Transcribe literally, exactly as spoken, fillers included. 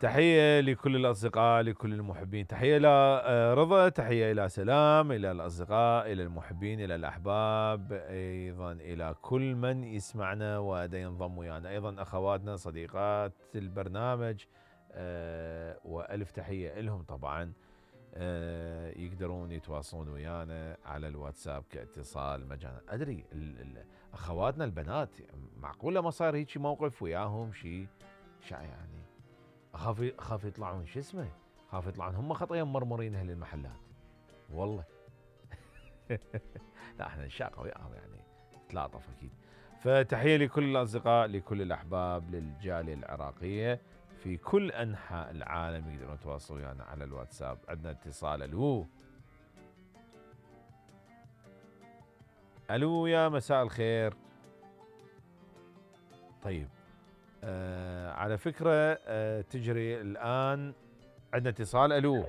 تحية لكل الأصدقاء، لكل المحبين، تحية إلى رضا، تحية إلى سلام، إلى الأصدقاء، إلى المحبين، إلى الأحباب، أيضا إلى كل من يسمعنا ودا ينضم ويانا، أيضا أخواتنا صديقات البرنامج، أه وألف تحية لهم طبعا. أه يقدرون يتواصلون ويانا على الواتساب كاتصال مجانا. أدري أخواتنا البنات معقولة ما صار هيك موقف وياهم شيء شا يعني اخاف اخاف يطلعون شو اسمه اخاف يطلعون هم خطيه مرمرين اهل المحلات والله. لا احنا نشاقه وياهم يعني تلاطف اكيد. فتحيه لكل الاصدقاء، لكل الاحباب، للجاليه العراقيه في كل انحاء العالم يقدرون يتواصلوا ويانا على الواتساب. عندنا اتصال. الو الو يا مساء الخير. طيب آه على فكرة آه تجري الآن. عندنا اتصال. ألو